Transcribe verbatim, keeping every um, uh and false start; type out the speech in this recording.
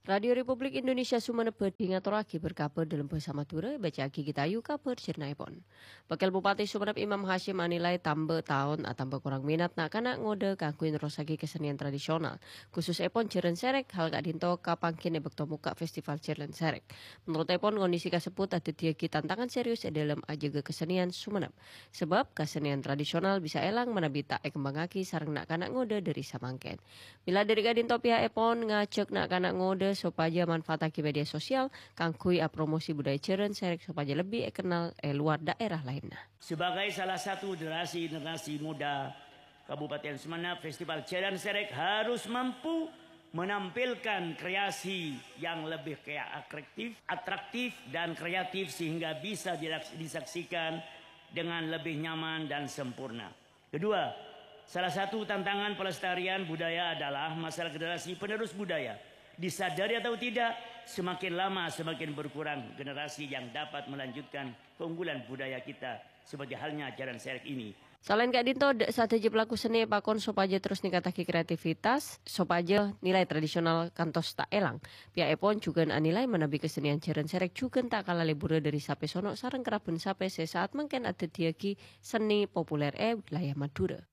Radio Republik Indonesia Sumenep bhâdhi ngatorraghi bâr-kabhâr dâlem bhâsa Madhurâ, èbâca'aghi Gita Ayu kabhâr jhârna'èpon. Wakil Bupati Sumenep Imam Hasyim anilai tamba taon atamba korang minat na'-kana' ngodâ kaangghuy nerrossaghi kasennèyan tradisional, khususèpon jhârân serrèk. Hal ka'dinto kapangghin è bâkto mokka' Festival Jhârân Serrèk. Menurutèpon, kondisi kasebbhut adhâddhiyâghi tantangan serius è dâlem ajâgâ kasennèyan Sumenep, sabâb kasennèyan tradisional bisa èlang manabi ta' èkembhângaghi sareng na'-kana' ngodâ dâri samangkèn. Mèla dâri ka'dinto, pihakèpon ngajhâk na'-kana' ngodâ sopajâ manfaattaghi media sosial kaangghuy apromosi budaya jhârân serrèk sopajâ lebbi èkennal è lowar daerah laènna. Sebagai salah satu generasi-generasi muda Kabupaten Sumenep, Festival Jhârân Serrèk harus mampu menampilkan kreasi yang lebih krea-, atraktif, atraktif dan kreatif sehingga bisa dilaks-, disaksikan dengan lebih nyaman dan sempurna. Kedua, salah satu tantangan pelestarian budaya adalah masalah generasi penerus budaya. Disadari atau tidak, semakin lama semakin berkurang generasi yang dapat melanjutkan keunggulan budaya kita, seperti halnya Jhârân Serrèk ini. Salaèn ka'dinto, dâ' sadhâjâ pelaku seni èpakon sopajâ terros ningkattaghi kreativitas, sopajâ nilai tradisional kantos ta' èlang. Pihakèpon jhughân anilai manabi kasennèyan jhârân serrèk jhughân ta' kala lebbhurrâ dâri sapèsono sareng kera bhân sapè sè saat mangkèn adhâddhiyâghi seni populer è wilayah Madhurâ.